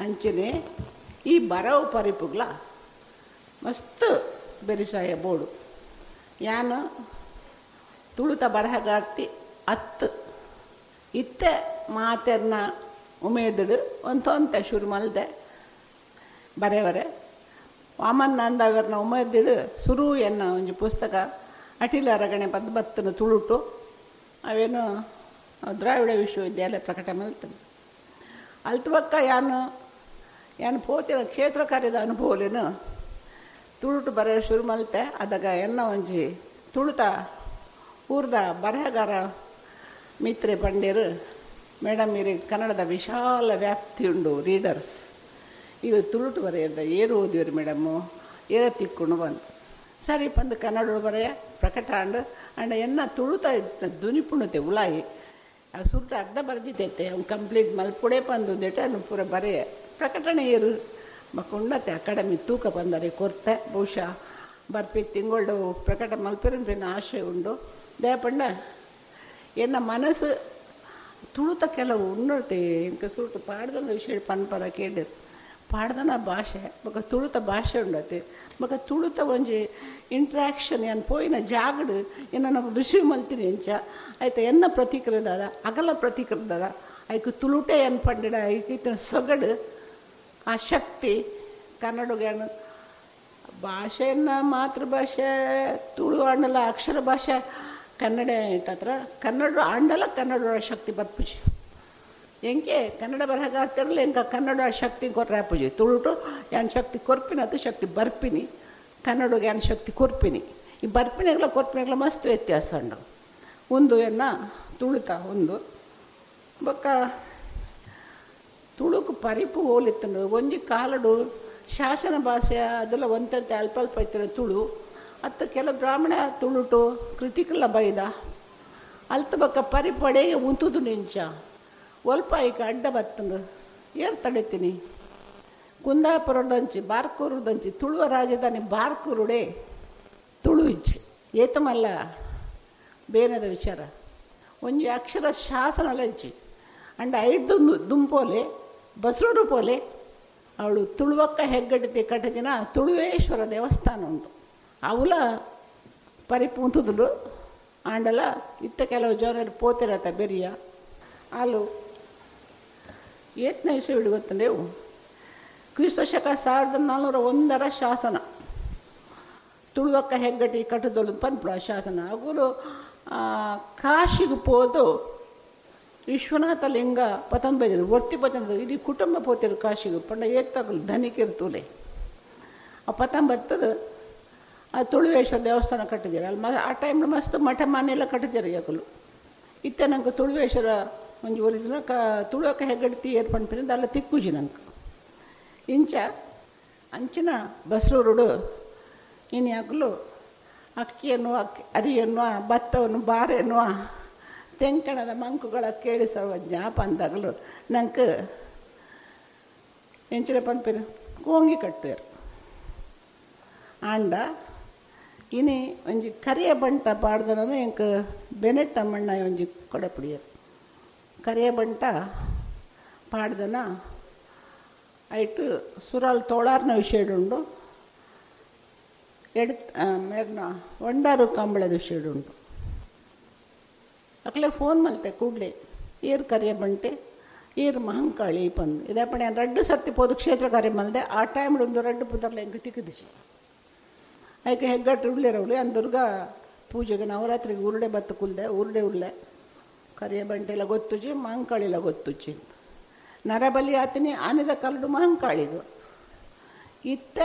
ಅಂಚನೆ ಈ ಬರವು ಪರಿಪುಗ್ಲ ಮಸ್ತ್ ಬೆರಿಸಾಯ ಬೋಡು. ಯಾನು ತುಳುತ ಬರಹಗಾರ್ತಿ ಅತ್ತು ಇತ್ತೆ ಮಾತೆರ್ನ ಉಮೇದುಡು ಒಂತೊಂತೆ ಶುರು ಮಲ್ದೆ ಬರೆವರೆ. ವಾಮನ್ ನಂದವರ್ನ ಉಮೇದಿಡು ಸುರು ಎನ್ನ ಒಂಜಿ ಪುಸ್ತಕ ಅಟಿಲ ಅರಗಣೆ ಪದ್ ಬತ್ತನ ತುಳುಟು ಅವೇನು ದ್ರಾವಿಡ ವಿಶ್ವವಿದ್ಯಾಲಯ ಪ್ರಕಟ ಮಲ್ತನು. ಅಲ್ತು ಬಕ್ಕ ಯಾನು ಯಾನು ಪೋತಿನ ಕ್ಷೇತ್ರ ಕಾರ್ಯದ ಅನುಭವಲೇನು ತುಳುಟು ಬರೆಯ ಶುರು ಮಲ್ತೆ. ಅದಾಗ ಎನ್ನ ಒಂಜಿ ತುಳುತ ಊರ್ದ ಬರಹಗಾರ ಮಿತ್ರೆ ಪಂಡೇರು, ಮೇಡಮ್ ಇರಿ ಕನ್ನಡದ ವಿಶಾಲ ವ್ಯಾಪ್ತಿ ಉಂಡು ರೀಡರ್ಸ್, ಇದು ತುಳುಟು ಬರೆಯದ ಏರು ಓದಿವ್ರಿ ಮೇಡಮ್ಮು ಏರ ತಿಕ್ಕೊಂಡು ಬಂದು ಸರಿ ಪಂದು ಕನ್ನಡ ಬರೆಯ ಪ್ರಕಟ ಅಂಡು ಅಂಡ ಎನ್ನ ತುಳುತ ದುನಿಪುಣತೆ ಉಲಾಯಿ ಅವು ಸುರುಟ ಅರ್ಧ ಬರೆದಿದ್ದೈತೆ ಅವ್ನು ಕಂಪ್ಲೀಟ್ ಮಲ್ಪುಡೆ ಪಂದು ಒಂದಿಟ ಪೂರ ಬರೆಯ ಪ್ರಕಟಣೆ ಏರು ಮಕ್ಕುಂಡತೆ ಅಕಾಡೆಮಿ ತೂಕ ಬಂದರೆ ಕೊರ್ತೆ. ಬಹುಶಃ ಬರ್ಪಿ ತಿಂಗಳು ಪ್ರಕಟ ಮಲ್ಪಿರಪಿನ ಆಶೆ ಉಂಡು. ದಯಪಂಡ ಎನ್ನ ಮನಸ್ಸು ತುಳುತ ಕೆಲವು ಉನ್ನತೆ ಇಂಕ ಸುರುಟು ಪಾಡ್ದನ ವಿಷಯ ಪನ್ಪರ ಕೇಳಿರು ಪಾಡ್ದನ ಭಾಷೆ ಬೊಕ ತುಳುತ ಭಾಷೆ ಉಂಡತೆ ಬೊಕ ತುಳುತ ಒಂಜಿ ಇಂಟ್ರಾಕ್ಷನ್ ಏನ್ ಪೋಯಿನ ಜಾಗಡು ಎನ್ನ ರಿಸೀವ್ ಮಲ್ತೀನಿ ಎಂಚ ಆಯ್ತ ಎನ್ನ ಪ್ರತಿಕ್ರಿಯೆದಾದ ಅಗಲ ಪ್ರತಿಕ್ರಿಯೆದಾದ ಐಕ್ ತುಳುಟೆ ಏನು ಪಂಡಿಡ ಐಕ್ ಸೊಗಡು ಆ ಶಕ್ತಿ ಕನ್ನಡಗೇನು ಭಾಷೆಯನ್ನು ಮಾತೃಭಾಷೆ ತುಳು ಆಂಡಲ ಅಕ್ಷರ ಭಾಷೆ ಕನ್ನಡ ಇಟ್ಟತ್ರ ಕನ್ನಡ ಆಂಡಲ ಕನ್ನಡ ಶಕ್ತಿ ಬರ್ಪುಜಿ. ಎಂಕೆ ಕನ್ನಡ ಬರಹಗಾರ್ತಿರಲ್ಲ ಎಂಕ ಕನ್ನಡ ಶಕ್ತಿ ಕೊರ್ರಾಪುಜಿ. ತುಳುಟು ಯಾನ್ ಶಕ್ತಿ ಕೊರ್ಪಿನ ಅದು ಶಕ್ತಿ ಬರ್ಪಿನಿ, ಕನ್ನಡಗೆ ಯಾನ್ ಶಕ್ತಿ ಕೊರ್ಪಿನಿ. ಈ ಬರ್ಪಿನೆಗಳ ಕೊರ್ಪಿನೆಗಳ ಮಸ್ತ್ ವ್ಯತ್ಯಾಸ ಉಂಡು. ಒಂದು ಎನ್ನ ತುಳುತ ಒಂದು ಬೊಕ್ಕ ತುಳುಕು ಪರಿಪು ಹೋಲಿತ್ತಂಡು ಒಂಜಿ ಕಾಲಡು ಶಾಸನ ಭಾಷೆ ಅದೆಲ್ಲ ಒಂತಂತೆ ಅಲ್ಪ ಅಲ್ಪ ಇತ್ತಿನ ತುಳು ಅತ್ತ ಕೆಲ ಬ್ರಾಹ್ಮಣ ತುಳುಟು ಕೃತಿಕಲ ಬೈದ ಅಲ್ತ ಬೊಕ್ಕ ಪರಿಪಡೆಗೆ ಉಂತುದು ನಿಂಚ ಒಲ್ಪ ಐಕ ಅಡ್ಡ ಬತ್ತಂದು ಏರ್ ತಡಿತೀನಿ. ಕುಂದಾಪುರದಂಚಿ ಬಾರ್ಕೂರುದಂಚಿ ತುಳುವ ರಾಜಧಾನಿ ಬಾರ್ಕೂರುಡೆ ತುಳು ಇಚ್ಚಿ ಏತಮಲ್ಲ ಬೇನದ ವಿಚಾರ ಒಂಜಿ ಅಕ್ಷರ ಶಾಸನ ಲಂಚಿ ಅಂಡ ಐದು ದುಂಪೋಲೆ ಬಸ್ರೂರು ಪೋಲೆ ಅವಳು ತುಳುವಕ್ಕ ಹೆಗ್ಗಡ್ತಿ ಕಟ್ಟದಿನ ತುಳುವೇಶ್ವರ ದೇವಸ್ಥಾನ ಉಂಟು. ಅವಲ ಪರಿಪುಂತುದುಲು ಆಂಡಲ ಇತ್ತ ಕೆಲವು ಜನರು ಪೋತಿರತ್ತ ಬೆರಿಯ ಅಲ್ಲು ಏತ್ನ ವಿಷಯ ಗೊತ್ತಂದೇವು. ಕ್ರಿಸ್ತ ಶಕ 1401 ಶಾಸನ ತುಳುವಕ್ಕ ಹೆಗ್ಗಟ್ಟಿ ಕಟ್ಟದೊಲು ಪನ್ಪುಡ ಶಾಸನ. ಅಗುಲು ಕಾಶಿಗೆ ಪೋದು ವಿಶ್ವನಾಥ ಲಿಂಗ ಪತನ್ ಬೈದರು ಒರ್ತಿ ಪತನ ಇಡೀ ಕುಟುಂಬ ಪೋತಿರು ಕಾಶಿಗೆ ಪಂಡ ಏತ್ತಾಗಲು ಧನಿಕಿರು ತೂಲೆ ಆ ಪತನ್ ಬತ್ತದ ಆ ತುಳುವೇಶ್ವರ ದೇವಸ್ಥಾನ ಕಟ್ಟಿದ್ದೀರ ಅಲ್ಲಿ ಆ ಟೈಮ್ ಮಸ್ತ್ ಮಠ ಮನೆಯೆಲ್ಲ ಕಟ್ಟಿದ್ದೀರ ಯಾಕಲು ಇತ್ತೆ ನಂಗೆ ತುಳುವೇಶ್ವರ ಒಂಜಿ ಒರಿದಿನ ಕ ತುಳುವಕ್ಕ ಹೆಗ್ಗಡ್ತಿ ಏರ್ಪಣ್ಪಿನಿಂದ ಅಲ್ಲ ತಿಕ್ಕುಜಿ ನಂಗೆ ಇಂಚ ಅಂಚಿನ ಬಸ್ರೂರುಡು ಇನ್ನು ಯಾಕಲು ಅಕ್ಕಿಯನ್ನು ಅಕ್ಕಿ ಅರಿಯನ್ನು ಭತ್ತವನ್ನು ಬಾರೆಯನ್ನು ತೆಂಕಣದ ಮಂಕುಗಳ ಕೇಳಿಸುವ ಜ್ಞಾಪ ಅಂದಾಗಲು ನಂಗೆ ಎಂಚಿನ ಪನ್ಪಿನ ಕೋಂಗಿ ಕಟ್ಟುವೆರು. ಆಂಡ ಇನಿ ಒಂಜಿ ಕರಿಯ ಬಂಟ ಪಾಡ್ದನ ಎಂಕ್ ಬೆನೆಟ್ ಅಮ್ಮಣ್ಣ ಒಂಜಿ ಕೊಡಪುಡಿಯರು ಕರಿಯ ಬಂಟ ಪಾಡ್ದನ ಐಟು ಸುರಾಲ್ ತೋಳಾರ್ನ ವಿಷಯಡುಂಡು ಎಡ್ ಮೇರ್ನ ಒಂಡಾರು ಕಂಬಳದ ವಿಷಯಡುಂಡು. ಅಕ್ಲೆ ಫೋನ್ ಮಲ್ತೆ ಕೂಡಲೇ ಏರು ಕರಿಯ ಬಂಟೆ ಏರು ಮಹಂಕಾಳಿ ಪಂದು ಇದೇ ರಡ್ಡು ಸರ್ತಿ ಪೋದು ಕ್ಷೇತ್ರ ಕಾರ್ಯ ಮಲ್ದೆ ಆ ಟೈಮ್ ಒಂದು ರಡ್ಡು ಪುದರ್ಲ ಎಂಕ್ ತಿಕ್ಕದಿಚಿ ಐಕೆ ಹೆಗ್ಗಟ್ಟು ಉಳ್ಳಿರವಳು ಅನ್ ದುರ್ಗಾ ಪೂಜೆಗೆ ನವರಾತ್ರಿಗೆ ಉರುಡೆ ಬತ್ತು ಕುಲ್ದೆ ಉರುಡೆ ಉಳ್ಳೆ ಕರಿಯ ಬಂಟೆಲ್ಲ ಗೊತ್ತುಜಿ ಮಹಂಕಾಳಿಲ್ಲ ಗೊತ್ತುಜಿ ನರಬಲಿ ಆತಿನಿ ಆನೆದ ಕರಡು ಮಹಂಕಾಳಿಗು ಇತ್ತ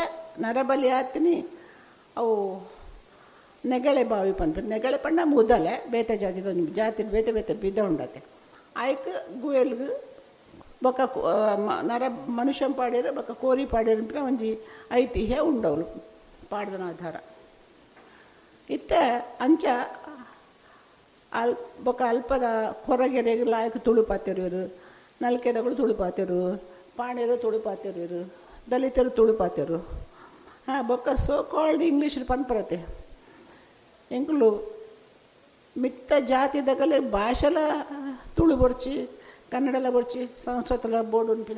ನರಬಲಿ ಆತಿನಿ ಅವು ನೆಗಳೆ ಬಾವಿ ಪನ್ಪ ನೆಗಳೆ ಪಂಡ ಮುದಲೆ ಬೇತೆ ಜಾತಿದ ಒಂಜಿ ಜಾತಿ ಬೇತೆ ಬೇತೆ ಬಿದ ಉಂಡತೆ ಆಯ್ಕ್ ಗುವೆಲ್ಗ್ ಬೊಕ್ಕ ನರ ಮನುಷ್ಯನ್ ಪಾಡ್ಯರು ಬೊಕ್ಕ ಕೋರಿ ಪಾಡ್ಯರು ಒಂಜಿ ಐತಿಹ್ಯ ಉಂಡವ್ಲು ಪಾಡ್ದನ ಆಧಾರ ಇತ್ತೆ ಅಂಚ ಅಲ್ ಬೊಕ್ಕ ಅಲ್ಪದ ಕೊರಗೆರೆಗ್ ಲಾಯ್ಕ್ ತುಳು ಪಾತೆರುವೆರು, ನಲ್ಕೆದಗಳು ತುಳು ಪಾತೆರು, ಪಾಣೆರು ತುಳು ಪಾತೆರುವೆರು, ದಲಿತರು ತುಳು ಪಾತೆರು. ಹಾಂ ಬೊಕ್ಕ ಸೋ ಕಾಲ್ಡ್ ಇಂಗ್ಲೀಷ್ ಪನ್ಪರತೆ ಎಂಕುಲು ಮಿತ್ತ ಜಾತಿದಗಲೆ ಭಾಷೆಲ ತುಳು ಬೊರ್ಚಿ ಕನ್ನಡಲ ಬೊರ್ಚಿ ಸಂಸ್ಕೃತಲ ಬೋರ್ಡ್ ಉನ್ಪಿನ